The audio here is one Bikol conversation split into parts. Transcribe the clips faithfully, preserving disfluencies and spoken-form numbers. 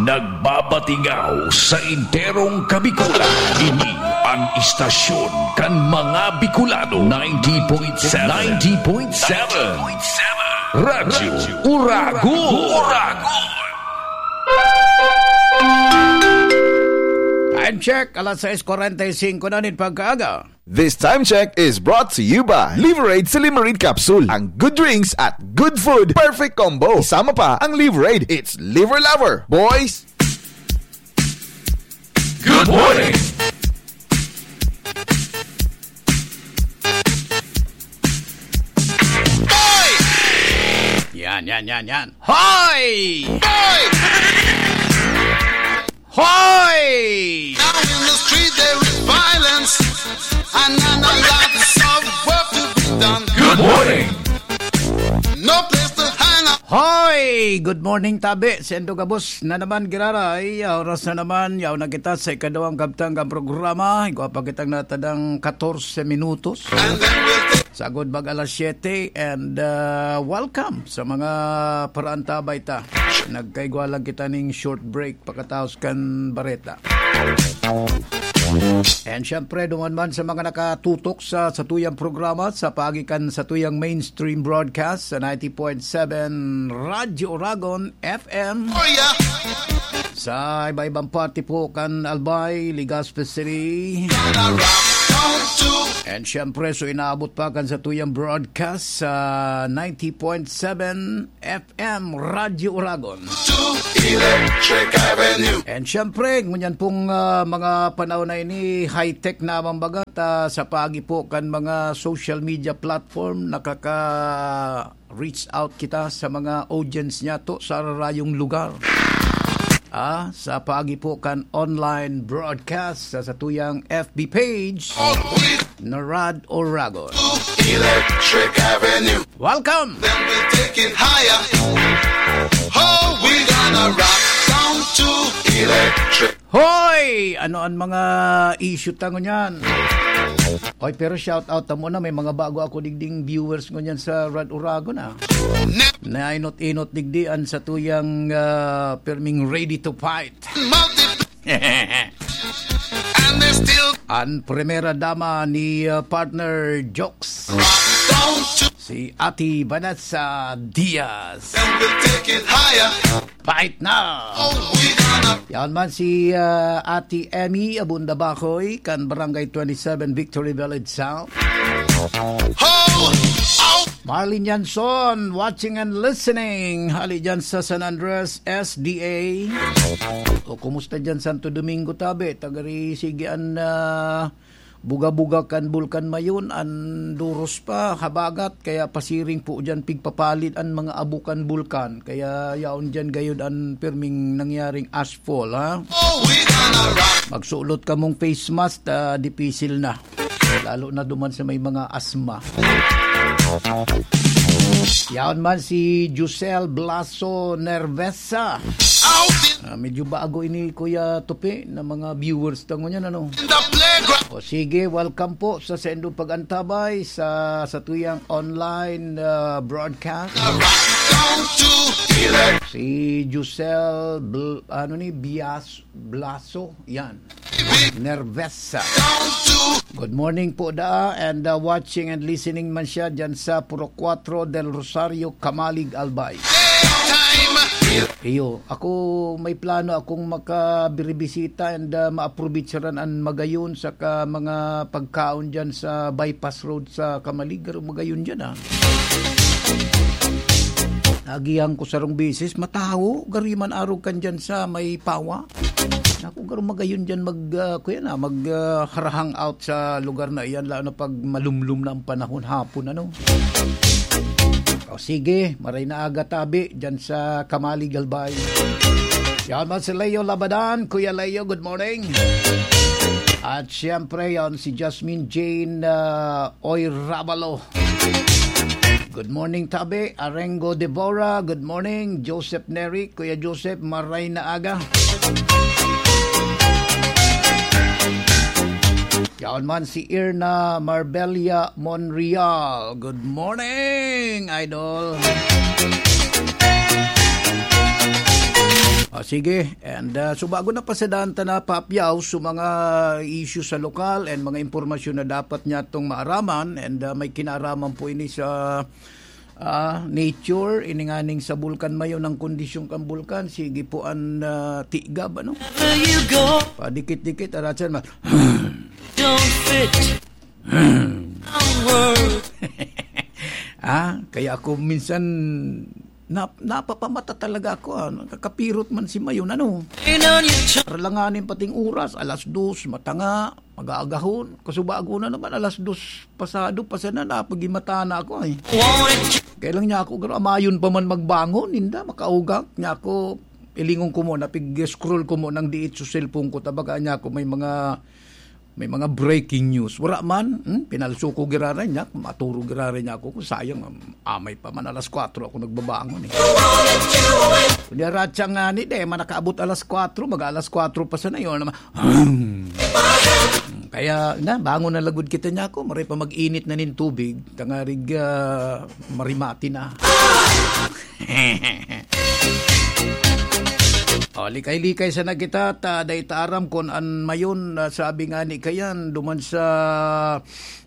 Nagbabatingaw sa enterong Kabikulan. Ini an istasyon kan mga Bicolano. Ninety point seven. Ninety point seven. Radyo Uragon. Time check, alas sais kwarenta y singko na nin pagkaaga. This time check is brought to you by Liverade Silimarid Capsule. Ang good drinks at good food, perfect combo. Isama pa ang Liverade. It's Liver Lover, boys! Good morning! Yan, yan, yan, yan. Hoy! Hoy! Now in the street there is violence, and, and a lots of work to be done. Good morning! No place to hang out. Hoy! Good morning, tabi. Sendo gabos na naman, giraray. Oras na naman, yaw na kita sa ikaduwang kabtang kan programa. Igwa pa kitang natadang katorse minutos. And then we'll take Sagod mag alas siyete and, ah, welcome sa mga paraantabay ta. Nagkaigwa lang kita ning short break pakataos kan bareta. And syempre, duman man sa mga nakatutok sa satuyang programa sa paagi kan satuyang mainstream broadcast sa ninety point seven Radyo Uragon F M. Oh, yeah. Sa iba-ibang parte po kan Albay, Legazpi City. And syempre, so inaabot pa kan satuyang broadcast sa ninety point seven F M Radyo Uragon. To Electric Avenue. And syempre, ngunyan pong, ah, mga panahon na ini, high-tech na ang bagat, ah, sa paagi po kan mga social media platform, nakaka-reach out kita sa mga audience niyato sa rarayong lugar. Ah, sa paagi po kan online broadcast sa satuyang F B page na Rad Oragon. Electric Avenue. Welcome! Then we'll take it higher. Oh, we gonna rock down to electric. Hoy! Ano an mga issue ta ngunyan? Hoy, pero shout out ta muna, may mga bago ako digding viewers ngunyan sa Rad Uragon, ah. Ne- Nainot-inot digdi an satuyang, ah, pirming ready to fight. Multi- And they still An primera dama ni, ah, partner Jokes, rock down to si Ate Vanessa Diaz. Then we'll take it higher. Pait na! Oh, we gonna Yan man si, ah, Ate Emmy Abunda Bacoy, kan Barangay twenty-seven Victory Village South. Ho! Ow! Marlene Yanson, watching and listening. Hali dyan sa San Andres, S D A. O, kumusta dyan, Santo Domingo, tabi? Tagari, sige, an, ah, buga-buga kan Bulkan Mayon, an duros pa, habagat, kaya pasiring po dyan, pigpapalit an mga abo kan bulkan. Kaya yaon dyan gayod an pirming nangyaring ashfall, ha? Oh, we gonna rock. Magsulot kamong face mask, ah, dipisil na. Lalo na duman sa may mga asma. Yaon man si Giselle Blaso Nervesa. Out in Ah, medyo bago ini, Kuya Tupi, na mga viewers ta ngunyan, ano? In the playground. O sige, welcome po sa saindong pag-antabay sa, sa tuyang online, ah, broadcast. Rock down to electric. Si Giselle Bl-, ano ni, Bias-, Blaso, yan. Nervesa. Down to Good morning po, da, and, uh, watching and listening man siya dyan sa Purok Cuatro del Rosario, Camalig, Albay. Time. Iyo, ako may plano akong makabiribisita and, uh, maaprobitsaran an Magayon saka mga pagkaon dyan sa bypass road sa Camalig, pero Magayon dyan, ah. Agihan ko sarong bisis, matawo, gari man arog kan dyan sa may pawa. Naku, garo Magayon dyan mag, ah, kuya na, mag, ah, harahang out sa lugar na iyan, lalo na pag malumlom na ang panahon, hapon, ano. O sige, maray na aga tabi dyan sa Camalig, Albay. Yan man si Leo Labadan. Kuya Leo, good morning. At siyempre, yan si Jasmine Jane, ah, Oy Rabalo. Good morning, tabi. Arengo Deborah, good morning. Joseph Neri, Kuya Joseph, maray na aga. Yaon man si Irna Marbella Monreal. Good morning, idol. Ah, sige. And, ah, so bago na pasadaan ta na papyaw sa mga isyu sa lokal and mga impormasyon na dapat niya itong maaraman, and, ah, may kinaaraman po ini sa, ah, nature, ini nganing sa bulkan mayo ng kondisyong kan bulkan. Sige po an, ah, tigab, ano? Padikit-dikit, aratsan, ma- Don't fit. Ah, kaya ako minsan nap-, napapamata talaga ako, ah. Nakakapirot man si Mayon, ano? Ralanganin pating oras, alas dos, matanga, mag-aagahon. Kasubago na naman, alas dos pasado, pa sana napagimata na ako, eh. Kaya lang niya ako, garo, amayon pa man magbangon, inda, makaugak niya ako. Ilingon ko mo, napig-scroll ko mo ng diit sa cellphone ko, tabaga niya ako, may mga may mga breaking news. Wala man, hmm? Pinalso ko giraray niya, maturo giraray niya ako. Sayang, um, amay pa man, alas kwatro ako nagbabangon, eh. Kundi aratsa nga ni, de, man nakaabot alas kwatro, mag alas kwatro pa sana yun. Naman. Kaya, na, bangon na lagod kita niya ako. Maray pa mag-init na nin tubig. Tangarig, ah, marimati na. O, likay-likay sana kita, ta dai ta aram kun an mayon, ah, sabi nga ni kayan, duman sa,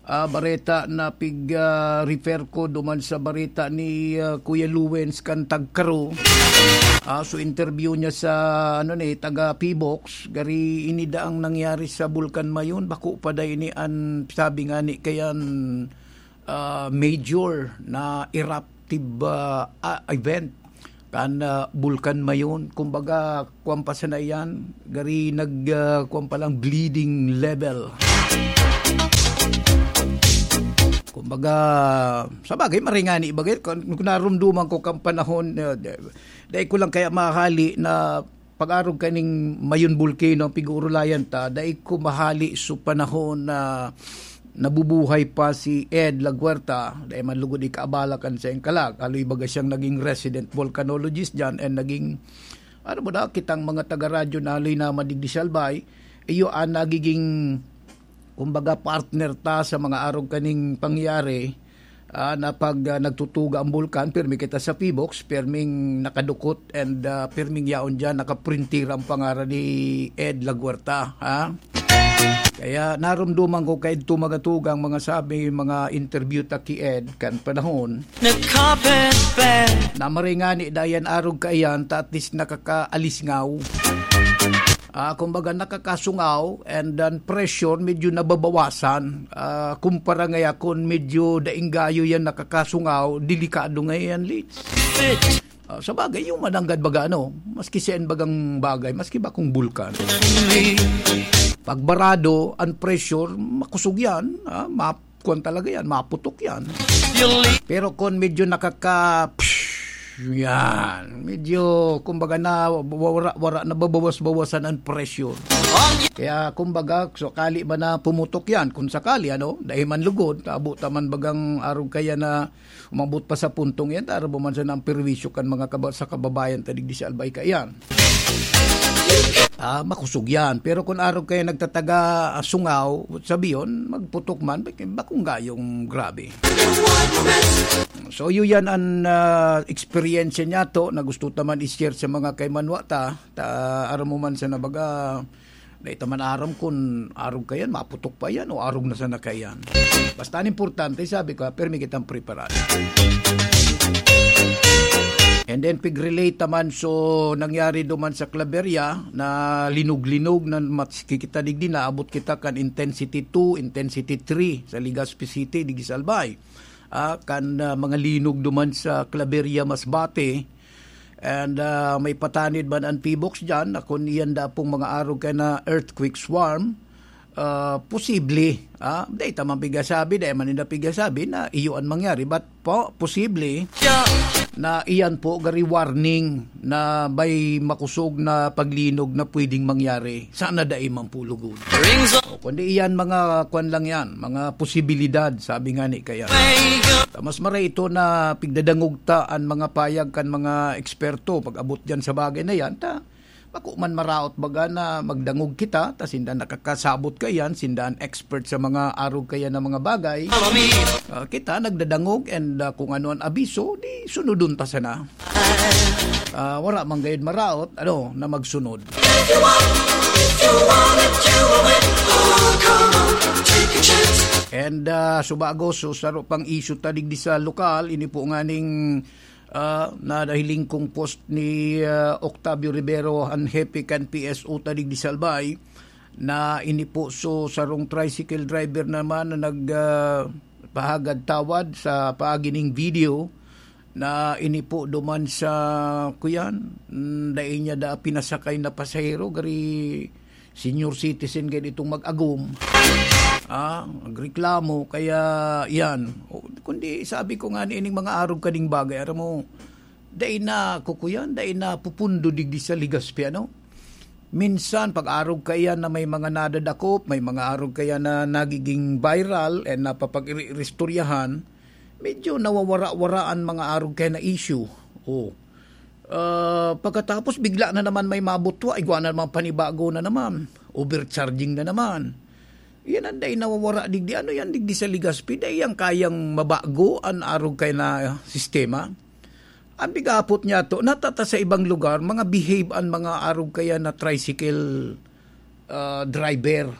ah, bareta na pig, ah, refer ko, duman sa bareta ni, ah, Kuya Luwens kan Tagkaro. Ah, so interview niya sa, ano ni, taga Pibox, gari ini daang nangyari sa Bulkan Mayon, bako pa dai ni an sabi nga ni kayan, ah, major na eruptive, ah, ah, event kan, ah, Bulkan Mayon. Kumbaga, kuwan pa sana iyan, gari nag, ah, kuwan pa lang, bleeding level. Kumbaga, sa bagay, maringani bagay, kung, kung narumduman ko kang panahon, ah, di-, dahil ko lang kaya mahali na pag-arog kaning Mayon Volcano ang pig-uurulayan ta, dai ko mahali sa panahon na nabubuhay pa si Ed Laguerta, dai man lugod ikaabala kan saiyang kalag. Haloy baga siyang naging resident volcanologist diyan and naging, ano mo na, kitang mga taga-radyo na haloy na madigdi sa Albay, iyo ang nagiging kumbaga, partner ta sa mga arog kaning pangyayari, ah, na pag, ah, nagtutuga ang bulkan, pirmi kita sa Pibox, pirming nakadukot, and, ah, pirming yaon diyan, nakaprintira ang pangaran ni Ed Laguerta, ha? Kaya narumduman ko kay Ed Tumagatuga ang mga sabi, mga interview ta ki Ed kan panahon. Nagkabetbet. Na maringani dayan arog kaiyan, ta at least nakakaalisngaw. Ah, kumbaga, nakakasungaw, and then pressure medyo nababawasan. Ah, kumpara ngaya kun medyo daing gayo yan nakakasungaw, delikado ngayon, Lids. Ah, sa bagay, yung mananggad baga, ano, maski saan bagang bagay, maski ba kung bulkan. Pag barado, ang pressure, makusog yan, ah, map-, kuwan talaga yan, maputok yan. Pero kung medyo nakaka-, yan, medyo, kumbaga na, wara, wara, nababawas-bawasan ang pressure. Kaya, kumbaga, sakali man na pumutok yan, kung sakali, ano, dahil man lugod, taabo ta man bagang arog kaya na umabot pa sa puntong yan, tara buman sa nang perwisyo kan mga kaba-, sa kababayan ta digdi sa Albay kaiyan. Ah, makusog yan. Pero kung arog kayo nagtataga, ah, sungaw, sabiyon, magputok man, bak-, bakong gayong grabe. So, yun yan ang, ah, experience niya to, na gusto ta man i-share sa mga kaimanwa ta, ta, aram mo man sa nabaga, na ita man aram kun arog kayan, maputok pa yan, o arog na sana kayan. Basta ang importante, sabi ko, permi kitang preparado. And then, pig-relate naman, so, nangyari duman sa Claveria, na linog-linog, na maski kita digdi, naabot kita kan intensity two, intensity three, sa Legazpi City, digdi sa Albay. Ah, kan, ah, mga linog duman sa Claveria, Masbate, and, ah, may patanid man an Pibox diyan, na kun iyan da pong mga arog kaya na earthquake swarm, ah, posible, ah, dai ta man pigasabi, dai man ninda pigasabi na iyo an mangyari, but po, posible na iyan po gari warning na may makusog na paglinog na pwedeng mangyari. Sana dai man po lugod. O, kundi iyan mga kwan lang yan, mga posibilidad, sabi nga ni kaya. Ta mas maray ito na pigdadangog ta an mga payag kan mga eksperto pag-abot diyan sa bagay na yan, ta Bako man maraot baga na magdangog kita, ta sinda nakakasabot kaiyan, sinda an expert sa mga arog kaiyan na mga bagay. Ah, kita nagdadangog and, ah, kung ano an abiso, di sunodon ta sana. Ah, wara man gayud maraot, ano, na magsunod. And, ah, subago, so, saro pang issue ta digdi sa lokal, ini po nganing, ah, nadahiling kong post ni, ah, Octavio Rivero, an hepe kan P S O ta digdi sa Albay, na ini po, so, sarong tricycle driver naman na nag, ah, pahagad tawad sa paagi ning video na ini po duman sa, kuyan, mm, dai niya da pinasakay na pasahero, gari senior citizen gayud itong mag-agom. Ah, nagreklamo, kaya yan. O, kundi sabi ko nga, ining mga arog kaning bagay, aram mo, dai na kukuyan, dai na pupundo digdi sa Legazpi, ano? Minsan, pag arog kaiyan na may mga nadadakop, may mga arog kaiyan na nagiging viral and napapag-iristoryahan, medyo nawawara-wara an mga arog kaiyan na issue. Oh. Ah, pagkatapos, bigla na naman may mabutwa, igwa na naman panibago na naman, overcharging na naman. Yan ang dai nawawara digdi. Ano yan digdi sa Legazpi? Dai yan kayang mabago an arog kaiyan na sistema? An bigapot niya to, natata sa ibang lugar, mga behave an mga arog kaiyan na tricycle, ah, driver.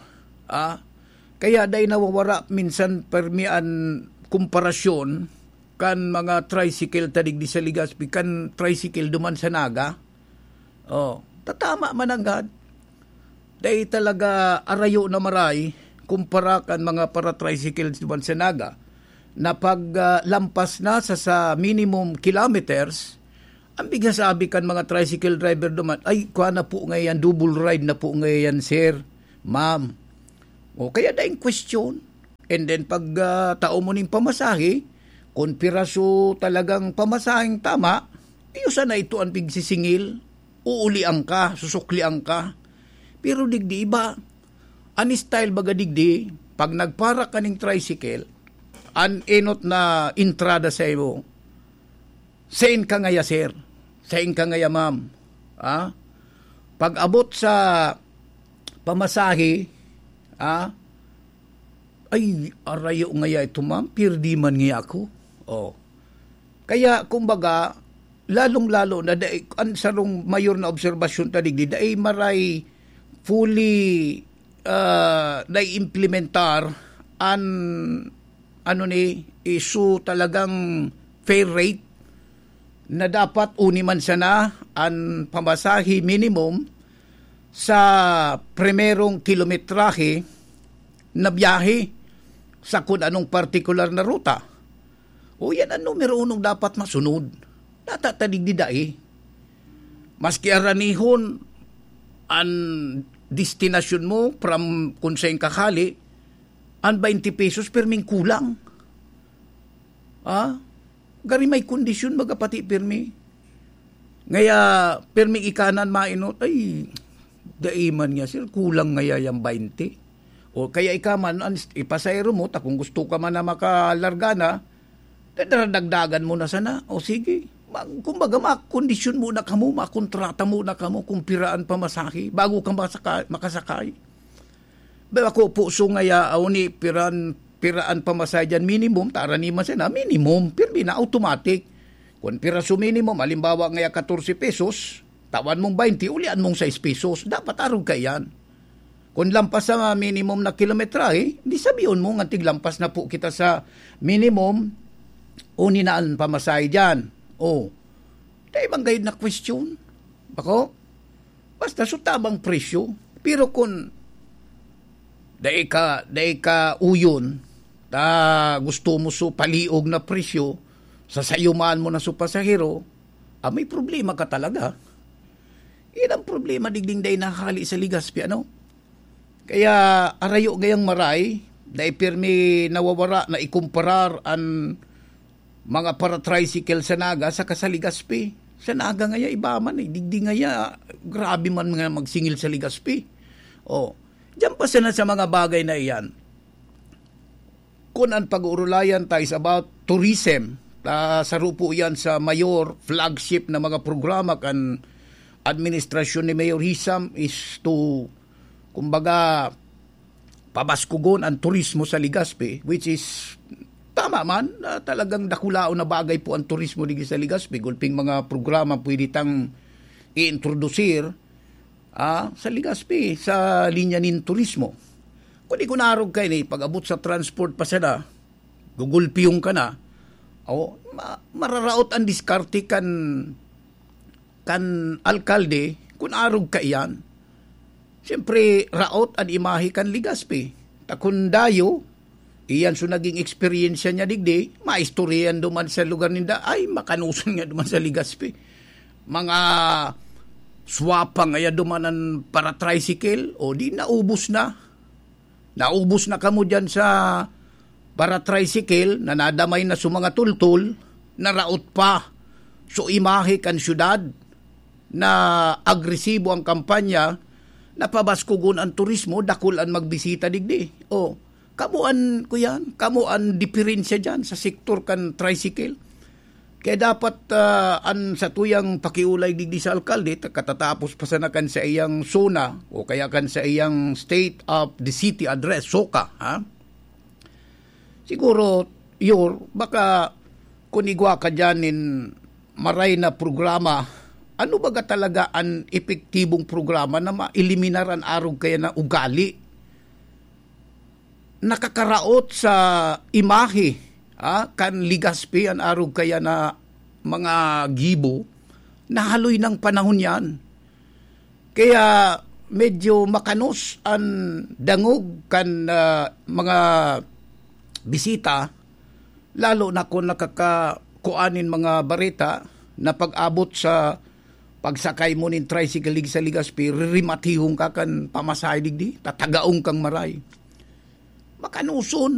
Ah? Kaya dai nawawara minsan permi an komparasyon kan mga tricycle ta digdi sa Legazpi, kan tricycle duman sa Naga. Oh, tatama man nanggad. Dai talaga arayo na maray kumpara kan mga para-tricycles duman sa Naga na pag, ah, lampas na sa, sa minimum kilometers, ang bighasabi kan mga tricycle driver duman, "Ay, kwa na po ngayon, double ride na po ngayon, sir, ma'am." O kaya daing question. And then pag, ah, tao mo ning pamasahe, kung piraso talagang pamasaheng tama, iyo sana ito ang pigsisingil, uulian ka, susuklian ka. Pero digdi iba, an style baga digdi, pag nagpara ka ning tricycle, an enot na entrada sa imo, "Sain ka ngaya, sir? Sain ka ngaya, ma'am?" Ah? Pag-abot sa pamasahe, ah, "Ay, arayo ngaya ito, ma'am, pirdi man ngaya ako." Oh. Kaya, kumbaga, lalong-lalo na dai, an sarong mayor na obserbasyon ta digdi, dai maray fully, ah, naiimplementar an, ano ni, isu talagang fare rate na dapat uni man sana an pamasahe minimum sa primerong kilometrahe na biyahe sa kun anong partikular na ruta. O yan ang numero unong dapat masunod. Natatadig di dai. Maski aranihon an destinasyon mo from kun sain ka hali, an twenty pesos perming kulang. Ah? Gari may kondisyon baga pati permi. Ngaya, permi ikanan mainot, "Ay, dai man niya, sir, kulang ngaya yang twenty." O kaya ika man, an, ipasahero mo, ta kung gusto ka man na makalarga na, dadagdagan mo na sana. O sige, mag, kumbaga, makondisyon muna kamo, makontrata muna kamo kung pira an pamasahe bago ka masaka-, makasakay. Ba, ako po, so ngaya, aw ni, piran, piraan pamasahe dyan, minimum, tara ni man sana, minimum, pirmi na, automatic. Kung piraso minimum, halimbawa ngaya, katorse pesos, tawan mong twenty, ulian mong sais pesos, dapat arog ka yan. Kung lampas sa minimum na kilometrahe, di sabihon mo nga tiglampas na po kita sa minimum, uni na ang pamasahe dyan. O, dai man gayud na question. Bako? Basta so tamang presyo. Pero kun dai ka, dai ka uyon, ta gusto mo so paliog na presyo, sasayumaan mo na so pasahero, ah, may problema ka talaga. Yan ang problema, digding dai nahali sa Legazpi, ano? Kaya arayo gayang maray, dai pirmi nawawara na ikumparar an mga para-tricycle sa Naga saka sa Legazpi. Sa Naga ngaya, iba man eh. Digdi ngaya, grabe man nga magsingil sa Legazpi. Oh, diyan pa sana sa mga bagay na iyan. Kun an pag-uurulayan ta is about tourism, ta saro po iyan sa mayor, flagship na mga programa kan administrasyon ni Mayor Hisam is to, kumbaga, pabaskugon ang turismo sa Legazpi, which is tama man, ah, talagang dakulaon na bagay po ang turismo digdi sa Legazpi. Gulping mga programa pwede tang i-introdusir, ah, sa Legazpi, sa linya nin turismo. Kundi kun arog kaini, pag-abot sa transport pa sana, gugulpiyong ka na, o, ma-, mararaot ang diskarte kan, kan alkalde kun arog kaiyan. Siyempre, raot an imahe kan Legazpi. Ta kun dayo, iyan so naging eksperyensya niya digdi, maistoryahan duman sa lugar ninda, ay, makanoson nga duman sa Legazpi. Mga swapang ngaya duman an para-tricycle, o di naubos na. Naubos na kamo diyan sa para-tricycle na nadamay na sa mga tultol, naraot pa. So, imahe kan syudad na agresibo ang kampanya, na pabaskugon ang turismo, dakul an magbisita digdi. O, kamo an, kuyan, kamo an diferensya diyan sa sektor kan tricycle. Kaya dapat, ah, an satuyang pakiolay digdi sa alkalde, ta-, katatapos pa sana kan sa iyang SONA o kaya kan sa iyang State of the City Address, SOCA, ha? Siguro, Yor, baka kun igwa ka diyan nin maray na programa, ano baga talaga an epektibong programa na maeliminar an arog kaya na ugali? Nakakaraot sa imahe, ah, kan Legazpi an arog kaya na mga gibo, na haloy nang panahon yan. Kaya medyo makanos an dangog kan, ah, mga bisita, lalo na kun nakakakuan nin mga bareta na pag-abot sa pagsakay mo nin tricycle digdi sa Legazpi, ririmatihon ka kan pamasahe digdi, tatagaon kang maray. Makanoson,